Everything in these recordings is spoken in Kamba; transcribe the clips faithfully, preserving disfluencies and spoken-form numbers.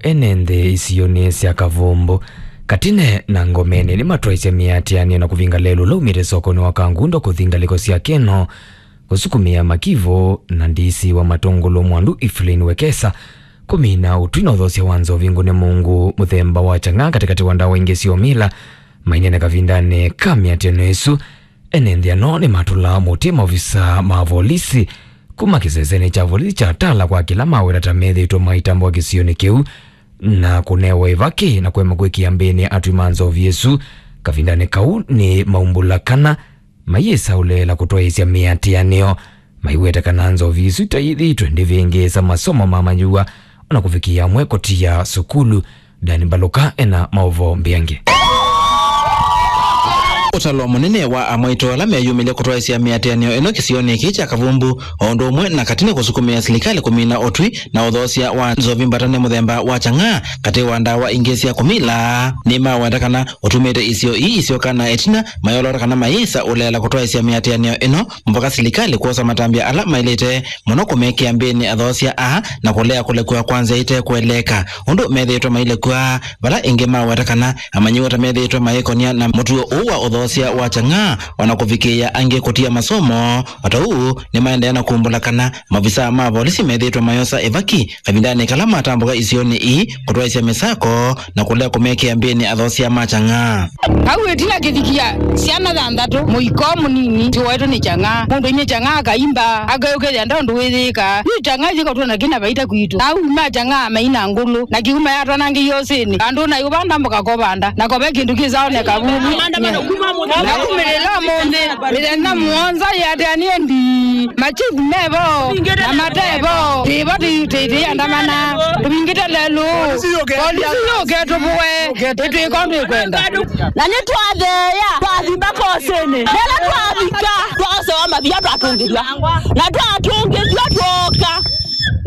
Ene nthĩ isionĩ sya Kavumbu, Katine na Ngomeni nĩmatwaisye mĩatĩanĩo na kũvinga lelũ ũla umĩte sokonĩ wa Kangundo kũthi ngalĩko sya Keno, kũsukumĩa makivũ na D C wa Matũngũlũ Mwandu Evelyn Wekesa kũmina ũtwi na ũthoosya wa nzovi ngũne mũngũ mũthemba wa chang'aa katĩkatĩ wa ndawa ingĩ sya ũmila mainene kavindanĩ ka mĩatĩanĩo ĩsu. Ene nthĩ ano nĩmatũla mũtĩ maovisa ma volisi kuma kĩsesenĩ kya volisi kya Tala kwa kĩla maweta ta methĩĩtwe maitambũka kĩsionĩ kĩu na kũnewa ĩvaki na kũema kwĩkĩa mbĩnĩ atwi ma nzovi ĩsu. Kavindanĩ kau nĩ maumbũla kana mayĩsa ũleela kũtwaĩĩsya mĩatĩanĩo, maiweta kana nzovi isu itaithĩtwe ndivĩngĩĩsa masomo ma manyuwa, ona kũvikĩa amwe kũtia sukulu. Dan Mbaluka ena maũvoo mbeange. Ũtalo mũnene wa amwaitũ ala meyumĩlye kũtwaĩsya mĩatĩanĩo ĩno kĩsionĩ kĩĩ kya Kavumbu, o ũndũ ũmwe na Katine kũsukumĩa silikalĩ kũmina ũtwi na ũthoosya wa nzovi mbatane mũthemba wa chang'aa katĩ wa ndawa ingĩ sya kũmila, nĩmaweta kana ũtumĩte isio ii isyoka na ĩtina mayolota kana mayĩsa ũleela kũtwaĩsya mĩatĩanĩo ĩno mũvaka silikalĩ kwosa matambya ala maĩlĩte mũno kũmekĩa mbĩnĩ athoosya aa na kũlea kũlekw'a kwa nzĩa ite kũeleeka ũndũ methĩĩtwe mailekw'a, vala ĩngĩ maweta kana amanyĩw'a ta methĩĩtwe mayĩkonia na mũtuo ũũ wa ũthoosya wa chang'aa, o na kũvikĩĩa angĩ kũtia masomo. O ta ũu, nĩmaendeea na kumbũla kana maovisaa ma volisi methĩĩtwe mayosa ĩvaki kavindanĩ kala matambũka isionĩ ii kũtwaĩsya mĩsako na kũlea kũmekĩa mbĩnĩ athoosya ma chang'aa. Kau ĩtina kĩvikia syana thanthatũ, mũiko mũnini, tiwaĩtwe nĩ chang'aa. Mũndũ aimye chang'aa akaimba, akayũkĩthya nda ũndũ wĩyĩĩka. Yu chang'aa ithikatwona kĩna vaita kwitũ. Kau ma chang'aa maina ngũlũ, na kiuma yatwanangĩie ũsĩnĩ. Andũ na yũvanda mboka kovanda, na kove kĩndũ kĩsaoneka vuvu. Na kumĩlĩla mũnthĩ, mĩthenya mũonza yĩatĩanĩe ndii. Machifu mevo, na matevo, tĩvo tĩitĩitĩiandamana, tũvingĩte lelũ, polisi yũke tũvũe, ĩtwĩka ũndũ ĩkwenda. Na nĩtwatheea, twathi mbaka ũsĩnĩ. Nela twavika, twasewa mavia twatũngĩthw'a. Na twatũngĩthw'a twooka.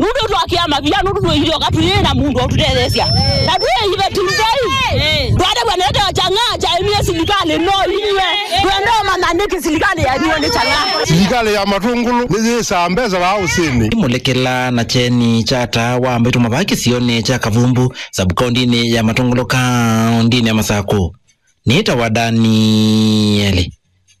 Nũndũ twakĩa mavia, nũndũ twĩilyoka tũyĩ na mũndũ ũtũtetheesya. Na twĩ ivetindei. Twadavw'a nete chang'aa kyaimie silikalĩ no inywe. Twenda ũmanya nĩkĩ silikalĩ yaniwe nĩ chang'aa. Silikalĩ ya Matũngũlũ nĩyĩsaa mbesa vaa ũsĩnĩ. Mũlekela na kyeni kya taa wa mbaitũ mavaa kĩsionĩ kya Kavumbu, sub-kaũndĩnĩ ya Matũngũlũ, kaũndĩnĩ ya Masakũ. Nĩtawa Danieli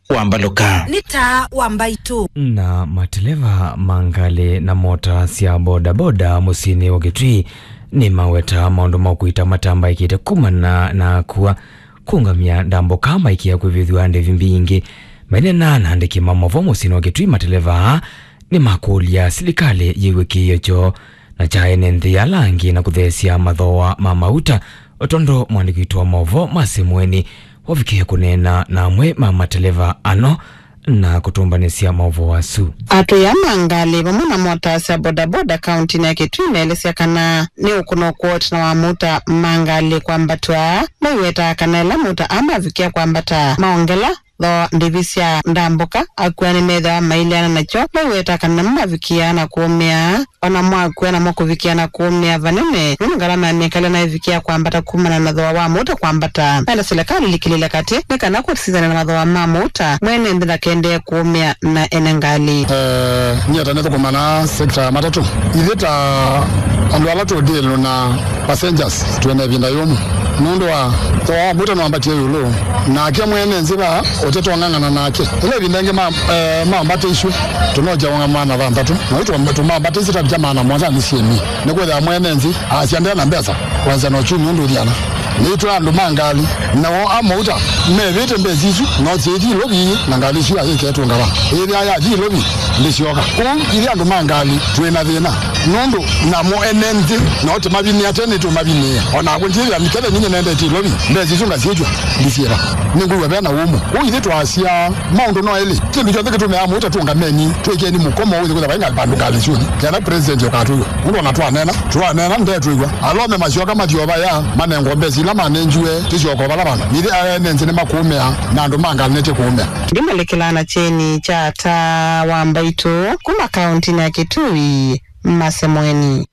wa Mbaluka. Nĩ taa wa mbaitũ. Na mateleva ma ngalĩ na mota sya bodaboda mũsyĩnĩ wa Kitui nĩmaweta maũndũ ma kũita matambaĩkĩte kumana na kua kũngamya ndambũka maikĩa kwĩvĩthw'a ndĩvi mbingĩ. Maineena na andĩki ma maũvoo mũsyĩnĩ wa Kitui, mateleva aa nĩmakũlya silikalĩ yĩw'e kĩĩo kyoo na kya ene nthĩ ala angĩ na kũtheesya mathooa ma mauta, o tondũ mũandĩki witũ wa maũvoo Mercy Mũeni wavikie kũneena na amwe ma mateleva ano na kũtũmbanĩsya maũvoo asu. Atũĩa ma ngalĩ vamwe na mota sya bodaboda kaũntĩnĩ ya Kitui meelesya kana nĩ ũkũno kwoo ĩtina wa mauta ma ngalĩ kwambatw'a. Maiwetaa kana ĩla mauta aa mavikĩa kwambata maongela thooa ndĩvi sya ndambũka, akua nĩmethĩawa maileana nakyo. Maiwetaa kana namo mavikĩaa na kũũmĩa, o na mwakua namo kũvikĩa na kũũmĩa vanene, nũndũ ngalama ya mĩkalĩle nayo ĩvikĩaa kwambata kumana na thooa wa mauta kwambata. Menda silikalĩ ĩlikĩlĩle katĩ nĩ kana kũsisana na mathooa ma mauta, mwene nthĩ ndakendee kũũmĩa na ene ngalĩ. Eh, nyie ta nĩthũkũmaa na sekta ya matatũ. Ithyĩ ta andũ ala tũdĩlũ na passengers twĩ na ĩvinda yũmũ nũndũ wa thooa wa mauta nĩwambatie ĩũlũ, nake mwene nzĩ vaa ũtetwong'ang'ana nake. Ĩla ĩvinda ĩngĩ ma, eh, mambatĩisw'e tũnokya ũng'ama na thanthatũ, na yu tũmambatĩisye tavikya maana mũonza nĩ syĩmi. Nĩkwĩthĩa mwene nzĩ asya nde na mbesa kwanza na uchumi ũndũ ũthiana. Nĩtwĩ andũ ma ngalĩ, nao a mauta mevĩte mbesa isu, no syĩthi Ilovi na ngalĩ isu yayĩketwe ngava. Ĩthĩa yathi Ilovi, ndĩsyoka. Kwoou ithyĩ andũ ma ngalĩ twĩ na thĩna, nũndũ namo ene nthĩ no tũmavinĩe tene, tũmavinĩe. O nakw'o ndyĩthĩa nĩ ketha ninyie nendete Ilovi, mbesa isu ngasyĩtw'a, ndisyĩva. Nĩngwĩw'a ve na ũmũ. Kwoou ithyĩ twasya maũndũ no elĩ. Kĩndũ kyonthe kĩtũmĩaa mauta tũngameni, twĩkeni mũkomo ũyũ kwĩthĩwa vai ngalĩ vandũ ngalĩ syũnĩ. Kenda president ũkatwĩw'a. Nũndũ ona twanena, twanena ndetwĩw'a. Alome masyoka mathi o vaya, manengwa mbesa ila manengiwe, tũsyoka o vala vandũ. Nĩthĩ ene nzĩ nĩmakũũmĩa, na andũ ma ngalĩ nĩtĩkũũmĩa. Ndimalĩkĩlaa na kyeni kya taa wa mbaitũ kuma kaũntĩnĩ ya Kitui, Mercy Mũeni.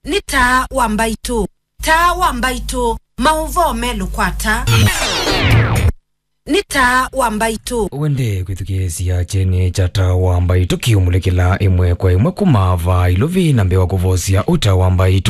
Nĩ taa wa mbaitũ. Taa wa mbaitũ, maũvoo melũ kwa taa. Nĩ taa wa mbaitũ. Wende kwĩthukĩĩsya kyeni kya taa wa mbaitũ kĩũmũlĩkĩla ĩmwe kwa ĩmwe kuma vaa Ilovi na mbee wa kũvosya ũtaa wa mbaitũ.